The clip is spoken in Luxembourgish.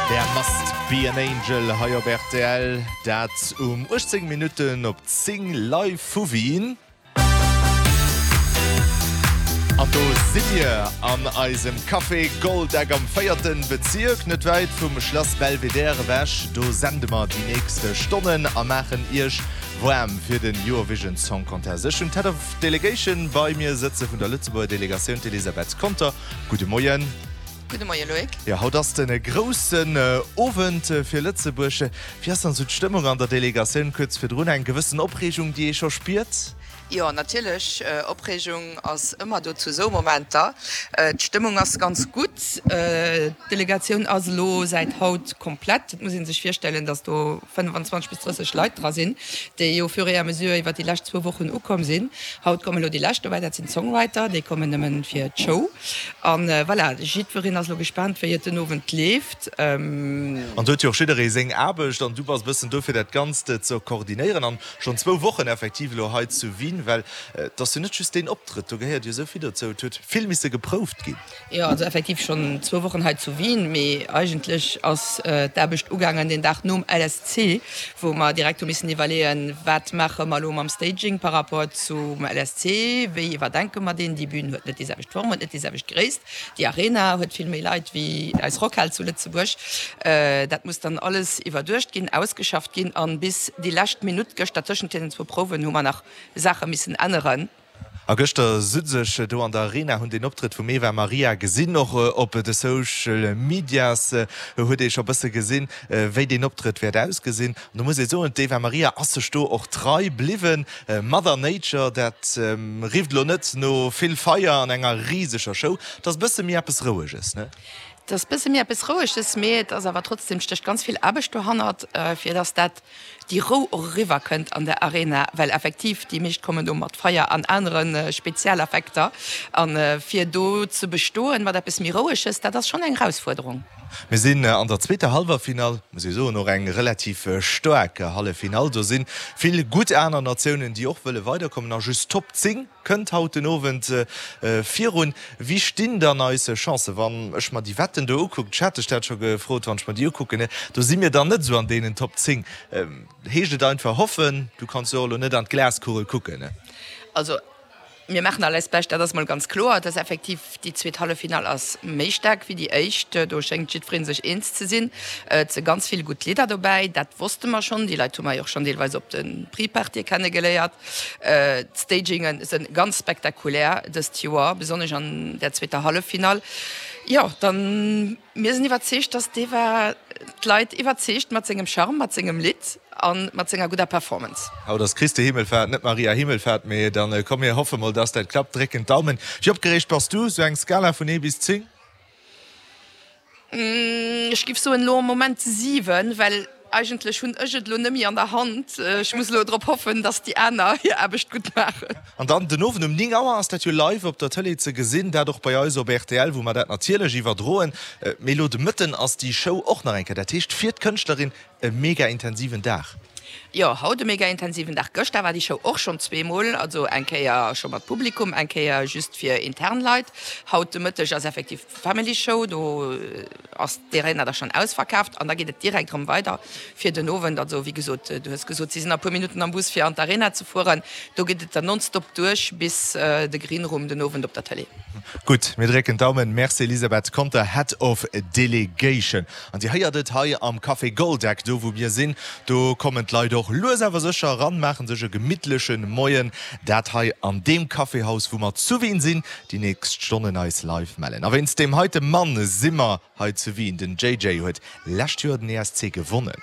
There must be an angel hei op rtl, dat um 18 Minutten op 10 live vu Wien. An do si mir an eisem Café Goldeck am véierten Bezierk, net wäit vum Schlass Belvedere ewech. Do sende mer déi nächst Stonnen a maachen iech waarm fir den Eurovision Song Contest. Ech hunn d'Head of Delegation bei mir sëtze vun der Lëtzebuerger Delegatioun, d'Elisabeth Conter. Gudde Moien. Gudde Moie Loïc. Jo, haut ass de groussen Owend fir Lëtzebuerg. Wéi ass dann esou d'Stëmmung an der Delegatioun kuerz virdrun? Eng gewëssen Opreegung, déi ee scho spiert? Jo, natierlech, Opreegung ass ëmmer do zu esou Momenter. D'Stëmmung ass ganz gutt. D'Delegatioun ass elo säit haut komplett. Et muss ee sech virstellen, datt do 25 bis 30 Leit dra sinn, déi au fur et à mesure iwwer déi lescht zwou Wochen ukomm sinn. Haut kommen elo déi lescht dobäi, dat sinn d'Songwriter, déi kommen nëmmen fir d'Show. An voilà, jiddwereen ass elo gespaant, wéi et den Owend leeft. An do huet jo och jidderee seng Aarbecht an du bass e bëssen do fir dat Ganzt ze koordinéieren an schonn zwou Wochen effektiv elo hei zu Wien, well et ass jo net just deen Optrëtt, do gehéiert jo esou vill dozou, et huet vill misse geprouft ginn. Jo, also effektiv schonn zwou Wochen hei zu Wien, mee eigentlech ass d'Aarbecht ugaangen deen Dag nom LSC, wou mer direkt hu missen iwwerleeën, wat maache mer elo mam Staging par rapport zum LSC, wéi iwwerdenke mer deen, déi Bühn huet net déi selwecht Form, huet net déi selwecht Gréisst, déi Arena huet vill méi Leit wéi eis Rockhal zu Lëtzebuerg. Dat muss dann alles iwwerduecht ginn, ausgeschafft ginn an bis déi lescht Minutt gëschter tëschent deenen zwou Prouwen hu mer nach Saache missen änneren. A gëschter sutz ech do an der Arena, hunn den Optrëtt vum Eva Maria gesinn. Och op de Social Medias huet ee scho bësse gesinn, wéi deen Optrëtt wäert ausgesinn. An do muss ee soen, d'Eva Maria ass sech do och trei bliwwen. Mother Nature, dat rifft elo net no vill Feier an enger riseger Show. Et ass bësse méi eppes Roueges, ne? Et ass bësse méi eppes Roueges, mee et ass awer trotzdem, stécht ganz vill Aarbecht dohannert, fir dass dat déi Rou och eriwwer kënnt an der Arena, well effektiv déi meescht kommen do mat Feier an anere Spezialeffekter an fir do ze bestoen mat eppes méi Roueges, dat ass schonn eng Erausfuerderung. Mir sinn an der zweeter Hallwerfinall, muss ee soen, och eng relativ staark Halleffinall. Do si vill gutt aner Natiounen, déi och wëlle weiderkommen a just d'Top 10 Kënnt haut den Owend virun. Wéi stinn dann eis Chancen, wann ech mer déi Wetten do ukucken? Ech hat dech dat scho gefrot, wann ech mer déi ukucken, do si mir dann net esou an deenen Top 10. Heescht et einfach hoffen? Du kanns jo och elo net an d'Glaskugel kucken. Also mir maachen all eist Bescht, dat ass mol ganz kloer. Et ass effektiv, déi zweet Halleffinall ass méi staark wéi déi éischt. Do schéngt jiddweree sech eens ze sinn. Et si ganz vill gutt Lidder dobäi, dat wosste mer schonn. Déi Leit hu mer jo och schonn deelweis op de Pre-Partye kennegeléiert. D'Stagingen sënn ganz spektakulär dëst Joer, besonnesch an der zweeter Halleffinall. Jo, dann, mir sinn iwwerzeegt, dass d'Eva d'Leit iwwerzeegt mat sengem Charme, mat sengem Lidd a mat senger gudder Performance. Haut ass Christi Himmelfahrt, net Maria Himmelfahrt, mee dann komm mir hoffe mol, dass dat klappt. Drécken d'Daumen. Wéi opgereegt bass du? Sou eng Skala vun 1 bis 10? Ech giff soen elo am Moment 7, well eigentlech hunn ech et elo net méi an der Hand. Ech muss elo drop hoffen, dass déi aner hir Aarbecht gutt maachen. An dann den Owend um 9 Auer ass dat jo live op der Tëlee ze gesinn, dat och bei eis op rtl, wou mer dat natierlech iwwerdroen. Mee elo de Mëtten ass déi Show och nach eng Kéier, dat heescht fir d'Kënschtlerin e mega intensiven Dag. Jo, haut e mega intensiven Dag. Gëschter war déi Show och schonn zweemol, also eng Kéier scho mat Publikum, eng Kéier just fir intern Leit. Haut de Mëtteg ass effektiv d'Family Show, do ass d'Arena da schonn ausverkaaft an da geet et direkt erëm weider fir den Owend. Also wéi gesot, du hues gesot, si sinn a puer Minutten am Bus fir an d'Arena ze fueren. Do geet et dann nonstop duerch bis de Green Room den Owend op der Tëlee. Gutt, mir drécken d'Daumen. Merci Elisabeth Conter, Head of Delegation. An Dir héiert et hei am Café Goldeck, do wou mir sinn, do kommen d'Leit och lues awer sécher eran, maachen sech e gemittleche Moien. Dat hei an deem Caféhaus, wou mer zu Wien sinn, déi nächst Stonnen eis live mellen. A wéinst deem heite Mann si mer hei zu Wien. Den JJ huet lescht Joer den ESC gewonnen.